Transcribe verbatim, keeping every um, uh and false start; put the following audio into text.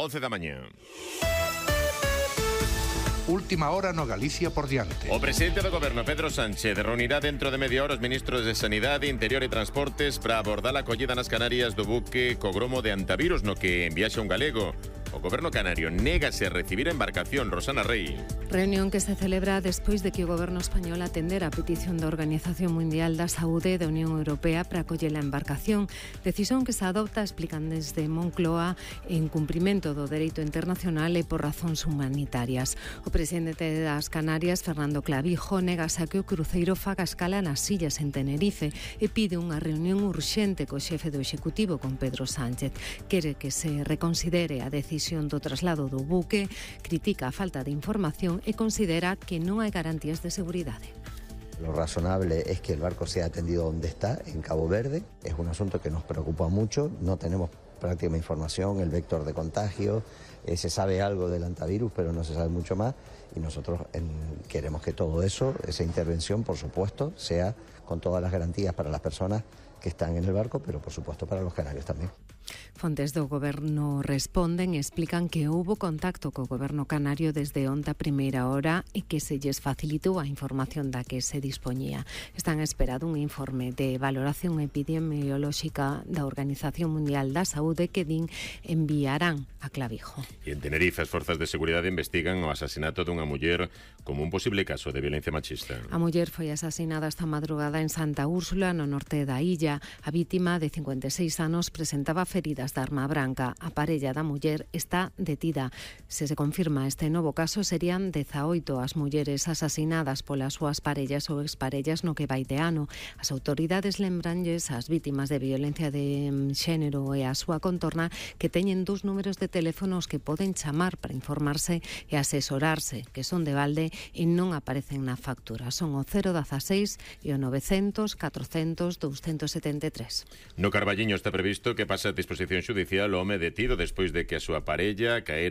once da mañá. Última hora no Galicia por diante. O presidente do goberno, Pedro Sánchez, reunirá dentro de media hora os ministros de Sanidade, Interior e Transportes para abordar a acollida nas Canarias do buque co gromo de Antavirus no que enviaxe un galego. O goberno canario négase a recibir a embarcación. Rosana Rey. Reunión que se celebra despois de que o goberno español atendera a petición da Organización Mundial da Saúde e da Unión Europea para acoller a embarcación. Decisión que se adopta, explican desde Moncloa, en cumprimento do dereito internacional e por razóns humanitarias. O presidente das Canarias, Fernando Clavijo, negase a que o cruceiro faga escala nas illas en Tenerife e pide unha reunión urxente co xefe do Executivo, con Pedro Sánchez. Quere que se reconsidere a decisión do traslado do buque, critica a falta de información e considera que non hai garantías de seguridade. Lo razonable es que el barco sea atendido donde está, en Cabo Verde. Es un asunto que nos preocupa mucho. No tenemos prácticamente información, el vector de contagio. Eh, se sabe algo del antivirus, pero no se sabe mucho más. Y nosotros en, queremos que todo eso, esa intervención, por supuesto, sea con todas las garantías para las personas que están en el barco, pero por supuesto para los canarios también. Fontes do goberno responden e explican que houbo contacto co goberno canario desde onte a primeira hora e que se lles facilitou a información da que se dispoñía. Están esperando un informe de valoración epidemiolóxica da Organización Mundial da Saúde que din enviarán a Clavijo. E en Tenerife, as forzas de seguridade investigan o asasinato dunha muller como un posible caso de violencia machista. A muller foi asasinada esta madrugada en Santa Úrsula, no norte da illa. A vítima, de cincuenta e seis anos, presentaba feridas de arma branca. A parella da muller está detida. Se se confirma este novo caso, serían dezaoito as mulleres asasinadas polas súas parellas ou exparellas no que vai de ano. As autoridades lembranlles ás vítimas de violencia de xénero e a súa contorna que teñen dous números de teléfonos que poden chamar para informarse e asesorarse, que son de balde e non aparecen na factura. Son o cero dieciséis e o novecientos, catrocentos, doscientos setenta e tres. No Carballiño está previsto que pase a disposición xudicial o home detido despois de que a súa parella caera